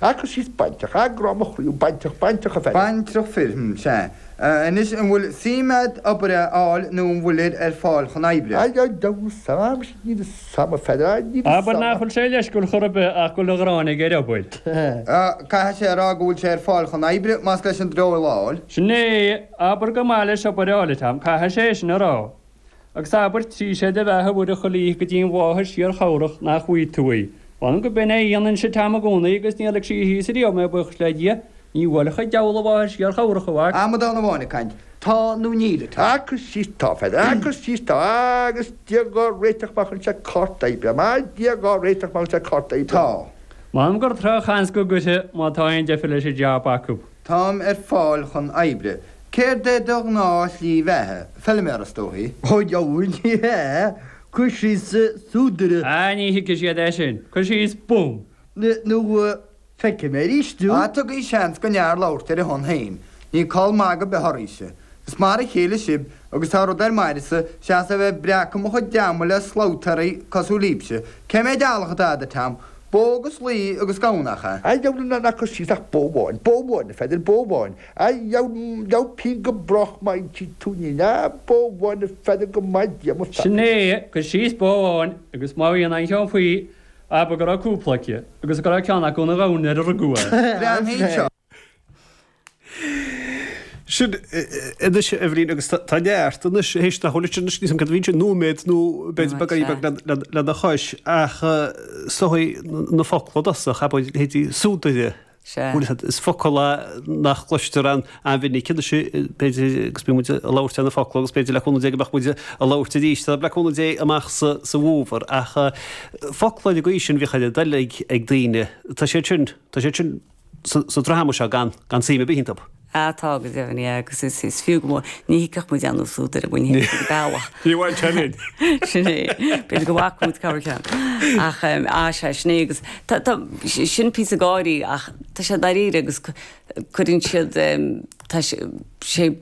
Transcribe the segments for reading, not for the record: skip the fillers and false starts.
Ah, cuir síos baintreach, ah, grá mo chroí, baintreach, baintreach a Pheadair. Baintreach fir, hm, sea. Anois, an bhfuil suim a'd obair a fháil nó an bhfuilir ar fáil chun oibre? Ah, deabhal 'sam, níl 'fhios a'm a Pheadair, ah, níl 'fhios Abair a'm. nach bhfuil sé leisciúil chor ar bith ach go bhfuil an ghráin aige ar obair. Ah, caithfidh sé a rá go bhfuil sé ar fáil chun oibre, más leis an dreoil a fháil. Sin é, abair gur maith leis obair a fháil, a Tom, caithfidh sé é sin a rá. Agus abair trí sé de bheatha Mhuire chuile oíche go dtí an mháthair síorchabhrach nach bhfaighidh tú í. Mh'anam go b'in é a dhéanainnse Tom i gcónaí agus níor lig sí thíos ariamh mé buíochas le Dia. Ní bhuailfeadh an diabhal an mháthair síorchabhrach, a mhac. Amadán amháin ag caint. Tá nó níl, a Tom? Ah, cuir síos tá, a Pheadair, ah, cuir síos tá, agus Dia dhá réiteach má chuireann sé cárta oibre, ah, Dia dhá réiteach má chuireann sé cárta oibre. Tá. M'anam gur drochsheans go gcuirfidh má tá aon deifir leis an jab acu. Táim ar fáil chun oibre. Céard é do ghnáth-shlí bheatha? Feilméara, is dóichí. Ó, dheabhail, ní hea. Cuir síos súdaire. Ah, ní thuigfidh siad é sin. Cuir síos bum. Nó feicfidh mé arís thú. Ah, tugaigí seans don fhear labhairt ar a shon féin. Níl call magaidh ar bith oraibhse. Is mar a chéile sibh, agus tá rud ar m'aire-sa, seachas a bheith ag breacadh mo chuid ama le slabhtaeirí cosúil libhse. Cé mhéid eallach atá agat, a Tom? Bó agus lao agus gamhain, nach ea? A dheabhail ná cuir síos ach bó amháin, bó amháin, a Pheadair, bó amháin. A dheabhail, dheabhail pingin go brách má insíonn tú an fhírinne. A, bó amháin, a Pheadair, go maith Dia mo pheacaí. Sin é, cuir síos bó amháin agus má bhíonn aon cheann faoi, abair go raibh cúpla aici agus go raibh ceann acu ina ghamhain nuair a rugadh é. Breathnaigh anseo. Sin anois a Eibhlín agus tá neart anois théis nach bhfuil anois níl 's a'm cad a bhí ansin nóiméad nó b'fhéidir beagáinín beag lena chois ach is dóigh na focla i dtosach abair leithéidí súdaire is focal é nach gcloistear an-mhinic anois b'fhéidir agus bíonn muid ag labhairt ar na focla agus b'fhéidir le cúnamh Dé go mbeadh muid ag labhairt arís le cúnamh Dé amach sa bhfómhar ach focla ar an gcaoi sin bhíodh ar a dtoil ag daoine tá siad sin tá siad sin sa dráma seo gan suim ar bith iontu. Ah tá go deimhin, yeah, agus is is fiú go mór, ní thuigfeadh muid aon súdaire, ní thuigfeadh muid bealach. Ní bhain sé linn. Sin é, b'fhéidir go bhfaca muid corrcheann. Ach ah sea, sin é agus tá tá sin píosa gáirí ach tá sé dáiríre agus cuireann siad tá sé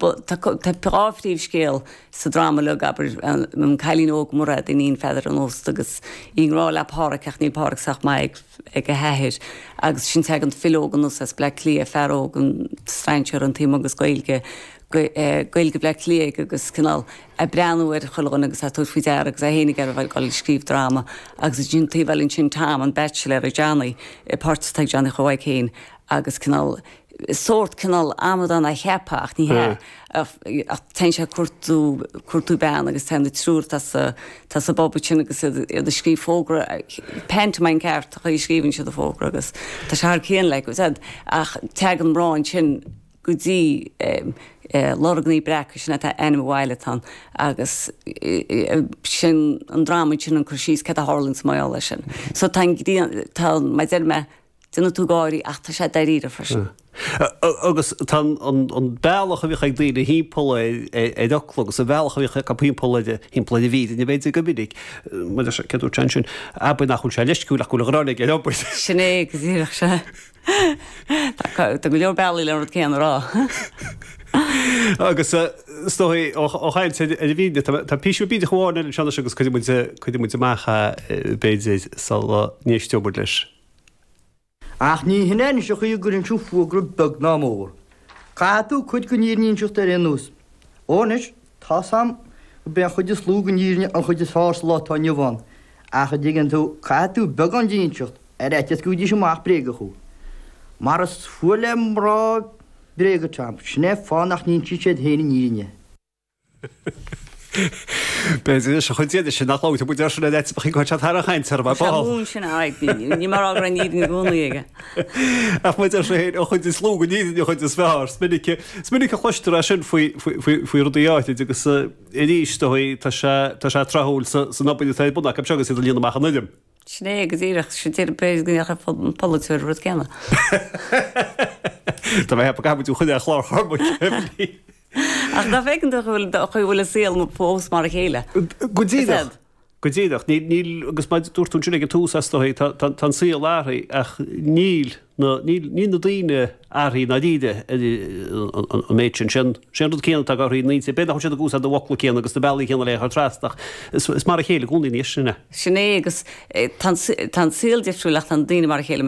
tá tá dhá phríomhscéal sa dráma uilig, abair, an cailín óg Mairéad, iníon Pheadair an Ósta agus í i ngrá le Páraic ach níl Páraic sách maith ag ag a hathair agus ansin tagann file óg anuas as Bleá Cliath, fear óg, an strainséir an taobh agus Gaeilge, Gaeilge Bhleá Cliath aige agus cineál ag breathnú ar chuile dhuine agus ag tabhairt faoi deara agus é féin ag iarraidh a bheith ag dul ag scríobh dráma agus ansin taobh eile ansin Tom, an baitsiléir, Johnny, páirt atá ag Johnny Chomhaidh féin agus cineál sórt cineál amadán á cheapadh ach ní hea. Ach téann sé ag cuartú, cuartú bean agus téann na triúr atá sa, atá sa bpub ansin agus iad, iad ag scríobh fógra, pantomime ceart an chaoi a scríobhann siad an fógra agus tá sé thar cionn like, ach teagann mná ansin go dtí Lorgnaí Breaca, sin é ainm an bhaile atá ann agus sin an dráma ansin an cur síos céard a tharlaíonn sa mbaile sin. So tá an grian, tá, mar a deir mé, Déanfaidh tú gáirí ach tá sé dáiríre freisin. Agus tá an bealach a bhíodh ag daoine thimpeall ar fhocla agus an bealach a bhíodh acu thimpeall ar thimpeall ar an bhfírinne b'fhéidir go minic, mar a céard a dúirt sé ansin, abair nach bhfuil sé leisciúil ach go bhfuil an ghráin aige ar obair. Sin é go díreach, sea. Tá go leor bealaí le an rud céanna a rá. Agus is dóigh ó chaint ar an bhfírinne, tá píosa bídeach amháin eile anseo anois agus cuirfidh muid amach é b'fhéidir sula n-éisteoidh muid leis. Ach ní hin é anois an chaoi a gcuireann tú fógra beag ná mór. Caithfidh tú cuid den fhírinne a inseacht ar aon nós. Ó anois, tá's a'm gurb é an chuid is lú den fhírinne an chuid is fearr sa lá atá inniu ann, ach a dtuigeann tú, caithfidh tú beagán di a inseacht, ar fhaitíos go bhfaighidís amach bréagach thú. Mar is fuath le mná bréaga, Tom, sin é fáth nach n-insíonn siad féin an fhírinne. B'fhéidir leis an chuid de sin nach labhróidh muid air sin ar fhaitíos go gcuirfeadh sé thar an chaint orm ar ball. Sé mún sin a aghaidh, ní mar a raibh an fhírinne i gcónaí aige. Ach mar a deir sé féin, an chuid is lú den fhírinne an chuid is fearr. Is minic, is minic a chloistear é sin faoi, faoi, faoi rudaí áithrid agus arís, dóigh, tá sé, tá sé tráthúil sa, san obair atá ar bun acu seo agus iad ag líonadh amach an fhoirm. Sin é go díreach, sin déarfainn b'fhéidir go ndéarfadh an polaiteoir an rud céanna. Tá mé ag ceapadh go gcaithfidh muid thú a choinneáil ar chlár Chormaic, Eibhlín. Ach nach bhfeiceann tú an chaoi a bhfuil an saol fós mar a chéile? Go díreach. Go díreach. Níl, níl, agus mar a dúirt tú ansin ag an tús, is dóigh, tá, tá, tá an saol athraithe ach níl na, níl, níl na daoine athraithe i ndáiríre an méid sin. Sé an, sé an rud céanna atá ag athrú na ndaoine. B'fhéidir nach bhfuil siad ag úsáid na bhfocla céanna agus na bealaí céanna le é a chur trasna ach is, is mar a chéile i gcónaí anois sin é. Sin é agus tá an, tá an saol difriúil ach tá na daoine mar a chéile.